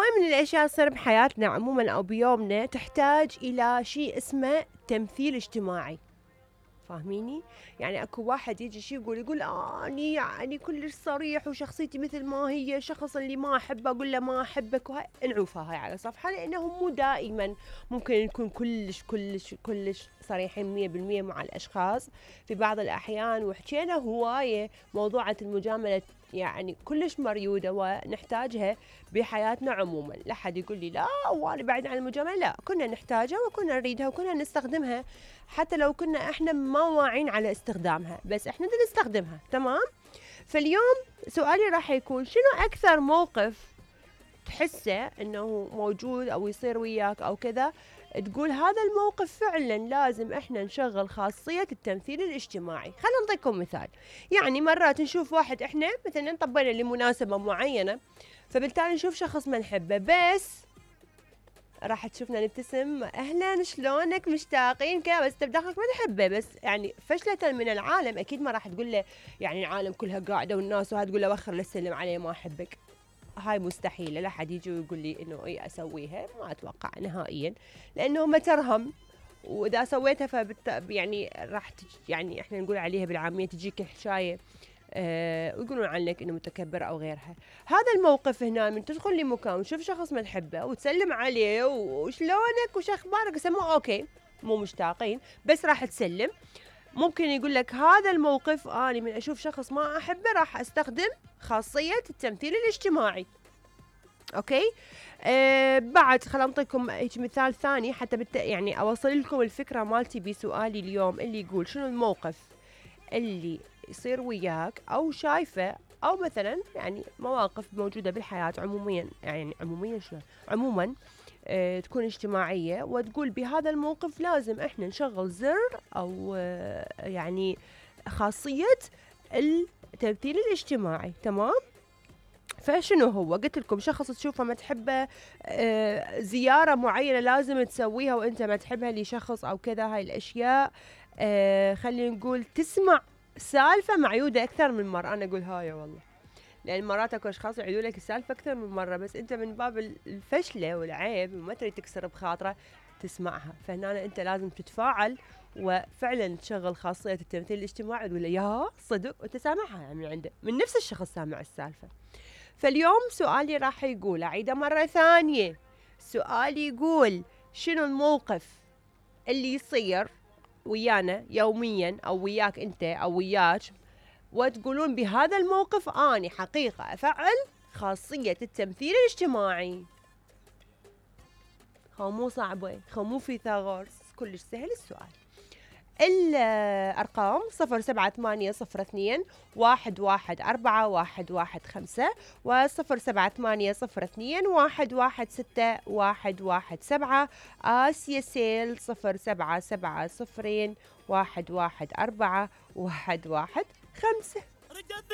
هواي من الأشياء تصير بحياتنا عموما أو بيومنا تحتاج إلى شيء اسمه تمثيل اجتماعي. فاهميني؟ يعني اكو واحد يجي شي يقول اني يعني كلش صريح وشخصيتي مثل ما هي، الشخص اللي ما احبه اقول له ما احبك، وهاي انعوفها هاي على صفحه، لانه مو دائما ممكن نكون كلش صريحين 100% مع الاشخاص. في بعض الاحيان وحكينا هوايه موضوعة المجامله يعني كلش مريوده ونحتاجها بحياتنا عموما. لا حد يقول لي لا وانا بعيد عن المجامله، لا، كنا نحتاجها وكنا نريدها وكنا نستخدمها حتى لو كنا احنا ما واعين على استخدامها، بس احنا بدنا نستخدمها. تمام. فاليوم سؤالي راح يكون شنو اكثر موقف تحسه انه موجود او يصير وياك او كذا تقول هذا الموقف فعلا لازم احنا نشغل خاصية التمثيل الاجتماعي. خلينا نعطيكم مثال. يعني مرات نشوف واحد احنا مثلا طبينا لمناسبة معينة، فبالتالي نشوف شخص ما نحبه، بس راح تشوفنا نبتسم اهلا شلونك مشتاقين كذا، بس بداخلك ما تحبه، بس يعني فشلة من العالم اكيد ما راح تقول له يعني العالم كلها قاعده والناس وهذا تقول له وخر لسلم عليه ما احبك. هاي مستحيله، لا حد يجي ويقول لي انه اي اسويها، ما اتوقع نهائيا، لانه ما ترهم. واذا سويتها يعني راح يعني احنا نقول عليها بالعاميه تجيك الحشايه، ويقولون عنك انه متكبر او غيرها. هذا الموقف هنا من تدخل لمكان وتشوف شخص ما تحبه وتسلم عليه وشلونك وش اخبارك يسموه اوكي، مو مشتاقين بس راح تسلم. ممكن يقول لك هذا الموقف اني من اشوف شخص ما احبه راح استخدم خاصية التمثيل الاجتماعي. اوكي. بعد خلينا نعطيكم هيك مثال ثاني حتى يعني اوصل لكم الفكرة مالتي بسؤالي اليوم، اللي يقول شنو الموقف اللي يصير وياك او شايفه، او مثلا يعني مواقف موجوده بالحياه عموميا، يعني عموميا شنو عموما تكون اجتماعيه، وتقول بهذا الموقف لازم احنا نشغل زر او يعني خاصيه التمثيل الاجتماعي. تمام. فشنو هو؟ قلت لكم شخص تشوفه ما تحبه، زياره معينه لازم تسويها وانت ما تحبها لشخص او كذا، هاي الاشياء. خلينا نقول تسمع سالفه معيوده اكثر من مره. انا اقول هاي والله، لان مرات اكو اشخاص يعيدوا لك السالفه اكثر من مره، بس انت من باب الفشله والعيب وما تريد تكسر بخاطره تسمعها. فهنا انت لازم تتفاعل وفعلا تشغل خاصيه التمثيل الاجتماعي وتقول له يا صدق، وانت سامعها يعني من عنده، من نفس الشخص سامع السالفه. فاليوم سؤالي راح يقول، أعيده مرة ثانية، سؤالي يقول شنو الموقف اللي يصير ويانا يوميا أو وياك أنت أو وياك، وتقولون بهذا الموقف أني حقيقة أفعل خاصية التمثيل الاجتماعي. خو مو صعبة، خو مو فيثاغورس، كلش سهل السؤال. الأرقام 078021141115 و078021161117. آسيا سيل 0770114115. رجعت